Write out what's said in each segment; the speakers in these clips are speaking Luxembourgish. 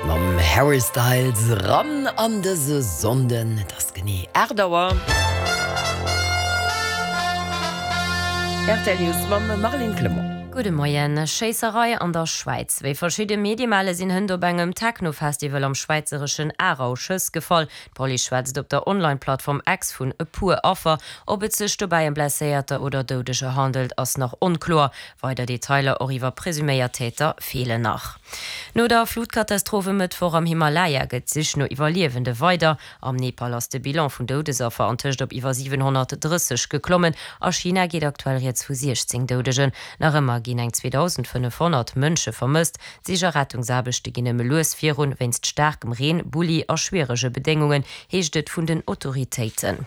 Mam Harry Styles ran an dëse Sonnden. Et ass genee 8 Auer. Rtl News mam Marlene Clement. Gudde Moien. Schéisserei an der Schwäiz. Wéi verschidde Medie melle sinn hënt op engem Techno-Festival am schwäizereschen Aarau Schëss gefall. D'Police schwätzt op der Online-Plattform X vun e puer Affer. Ob et sech dobäi ëm Blesséierter oder Doudeger handelt, ass nach onkloer. Weider Detailer och iwwer presuméiert Täter feelen nach. No der Flutkatastroph e Mëttwoch am Himalaya gëtt d'Sich no Iwwerliewende weider. Am Nepal ass de Bilan vun Doudesaffer antëscht op iwwer 730 geklommen. A China geet aktuell rieds vu 16 Doudegen. Nach ëmmer ginn eng 2.500 Mënsche vermësst. D'Sich a Rettungsaarbechte ginn nëmme lues virun, wéinst staarkem Reen, Bulli a schwierege Bedéngungen, heescht et vun den Autoritéiten.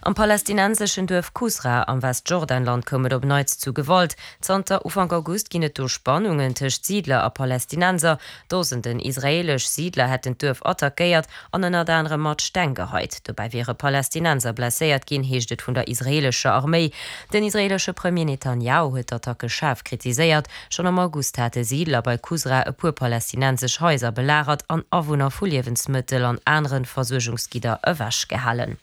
Am palästinenseschen Duerf Kusra am Westjordanland koum et op Neits zu Gewalt. Zanter Ufank August ginn et do Spannungen tëscht Siidler a Palästinenser. Dosenden israeelesch Siidler hätten d'Duerf attackéiert an ënnert anerem mat Steng geheit. Dobäi wiere Palästinenser blesséiert ginn, heescht et vun der israeelescher Arméi. Den israeelesche Premier Netanjahu huet d'Attacke schaarf kritiséiert. Schonn am August hate Siidler bei Kusra e puer palästinensesch Haiser belagert an Awunner vu Liewensmëttel an anere Versuergungsgidder ewechgehalen.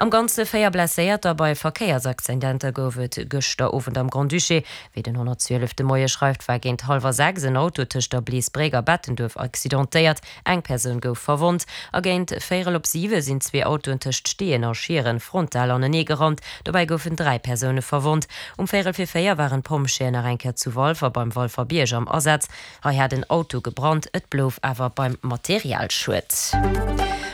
Am Ganze 4 Blesséierter bei Verkéiersaccidenter gouf et gëschter Owend am Grand-Duché. Wéi den 112 de Moie schreift, war géint hallwer 6 en Auto tëscht der Bleesbréck a Bettenduerf accidentéiert. Eng Persoun gouf verwonnt. A géint véierel op siwe sinn zwee Autoen tëscht Steeën a Schieren frontal anenee gerannt. Dobäi goufen 3 Persoune verwonnt. Um véierel fir 4 waren d'Pompjeeën nach eng Kéier zu Walfer beim Walfer Bierg am Asaz. Hei hat en Auto gebrannt, et blouf awer beim Materialschued.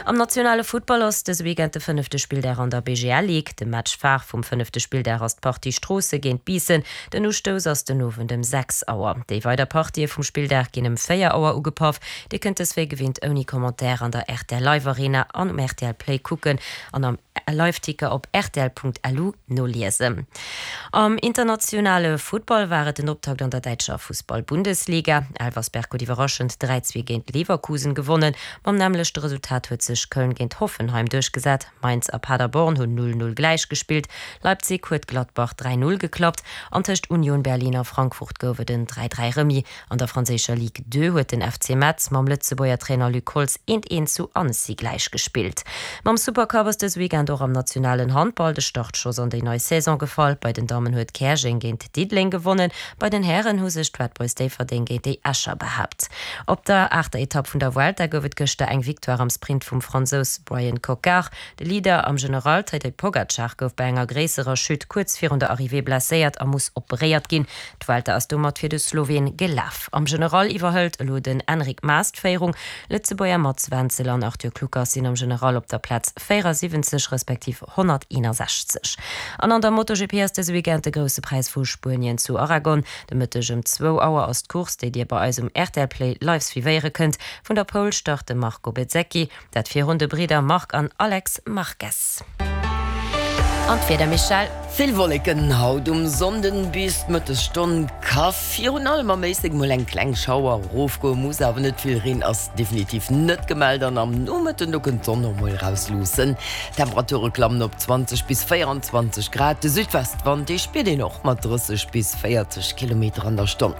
Am nationale Futtball ass dëse Weekend de fënnefte Spilldag an der BGL Ligue. De Match phare vum fënnefte Spilldag ass d'Partie Stroosse géint Biissen. Den Ustouss ass den Owend ëm 6 Auer. Déi weider Partië vum Spilldag ginn ëm 4 Auer ugepaff. Dir kënnt dës wéi gewinnt ouni Commentaire an der rtl Live Arena an um rtl Play kucken an am Liveticker op rtl.lu noliesen. Am internationale Futtball war et den Optakt an der däitscher Fussball-Bundesliga. Elversberg huet iwwerraschend 3, 2 géint Leverkusen gewonnen. Mam nämmlechte Resultat huet sech Köln géint Hoffenheim duerchgesat. Mainz a Paderborn hunn 0, 0 gläich gespillt. Leipzig huet Gladbach 3, 0 geklappt an tëscht Union Berlin a Frankfurt gouf et en 3, 3 Remis. An der franséischer Ligue 2 huet den FC Metz mam Lëtzebuerger Trainer Luc Holtz eent eent zu Annecy gläich gespillt. Mam Supercup ass dëse Weekend och am nationalen Handball de Startschoss an déi nei Saison gefall. Bei den Dammen huet Käerjeng géint Diddeleng gewonnen, bei den Hären hu sech d'Red Boys Déifferdeng géint déi Escher behaapt. Op der aachter Etapp vun der Vuelta gouf et gëschter eng Victoire am Sprint vum Fransous Bryan Coquard. De Leader am General, Tadej Pogacar, gouf bei enger gréisserer Chute kuerz virun der Arrivée blesséiert a muss operéiert ginn. D'Vuelta ass domat fir de Sloween gelaf. Am General iwwerhëlt elo den Enric Mas d'Féierung. Lëtzebuerger Mats Wenzel an Arthur Kluckers sinn am General op der Plaz 74 respektiv 161. An an der MotoGP ass dëse Weekend de Grousse Präis vu Spuenien zu Aragon. De Mëtteg ëm zwou Auer ass d'Course, déi Dir bei eis um rtl Play live suivéiere kënnt. Vun der Pole start de Marco Bezzecchi. Dat virun de Bridder Marc an Alex Marquez. An d'Wieder, Michèle? Vill Wolleken haut um Sonnden, bis d'Mëttesstonn ka virun allem am Éislek mol eng kleng Schauer erofgoen, muss awer net vill. Reen ass definitiv net gemellt an am Nomëtten do kënnt d'Sonn och mol erausluussen. D'Temperature klammen op 20 bis 24 Grad, de Südwestwand dee spiert een och mat 30 bis 40 Kilometer an der Stonn.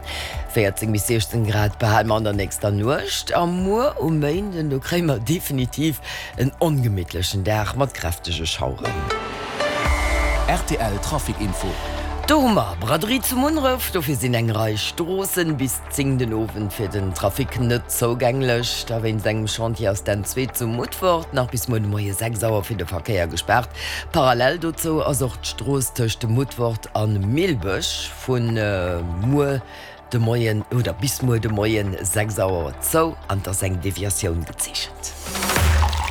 14 bis 16 Grad behale mer an der nächster Nuecht a muer um Méinden, do kréie mer definitiv en ongemittlechen Dag mat kräftege Schaueren. Rtl Trafic Info. Do hu mer Braderie zu Munneref, dofir sinn eng Rei Stroossen bis 10 den Owend fir den Trafic net zougänglech. Da wéinst engem Chantier ass d'N2 zu Mutfert nach bis muer de Moie 6 Auer fir de Verkéier gespaart. Parallel dozou ass och d'Strooss tëscht Mutfert an Millbësch Vun muer de Moien oder bis muer de Moien 6 Auer zou an et ass eng Deviatioun gezeechent.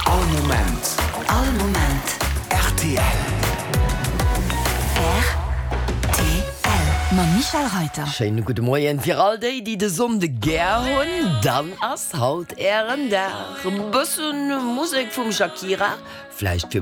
All Moment. All Moment. Rtl. Rtl. Mam Michel Reiter. Schéine gudde Moien fir all déi, déi de Sonnde gär hunn. Dann ass haut ären Dag. E bësse Musek vum Shakira, vläicht fir.